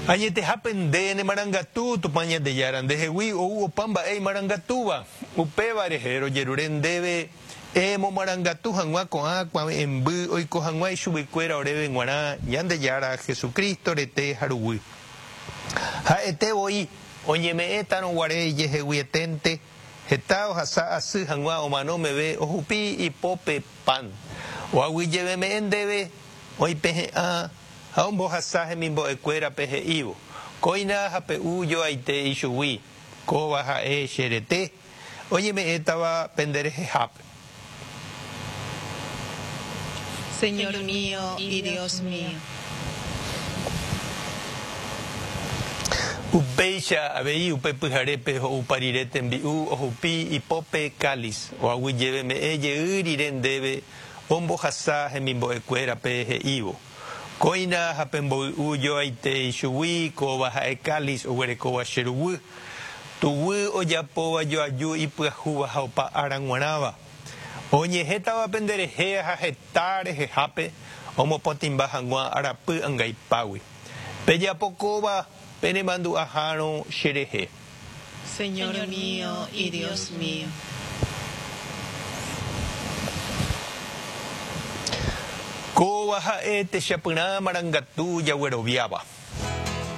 Añetehápe nde nemarangatu, Tupã Ñandejára, ndehegui ou opa mba'e imarangatúva. Upéva rehe rojerure ndéve emomarangatu hag̃ua ko'ã kuave'ẽmby oiko hag̃ua ichuguikuéra oréve g̃uarã Ñandejára Jesucristo rete ha ruguy. Ha'ete voi oñeme'ẽtarõ guare ijeheguieténte, heta ohasa asy hag̃ua omano meve ohupi ipópe pan. Oaguyjeveme'ẽ ndéve oipehe'ã ha ombohasa hemimbo'ekuérape he'ívo, Kóina ha pe'u joaite ichugui, kóva ha'e che rete, oñeme'ẽtava pende rehehápe. Señor mío y Dios mío. Upéicha avei upe pyharépe ho'upa rire tembi'u ohupi ipópe cáliz, oaguyjeveme'ẽ jey rire ndéve ombohasa hemimbo'ekuérape he'ívo, Kóina ha pemboy'u joaite ichugui kóva ha'e cáliz oguerekóva che ruguy, tuguy ojapóva joaju ipyahúva ha opa ára g̃uarãva. Oñehétava penderehe ha heta rehehápe omopotĩmba hag̃ua arapy angaipágui. Pejapo kóva penemandu'ahárõ cherehe. Señor mío y Dios mío. Kóva ha'e techapyrã marangatu jagueroviáva.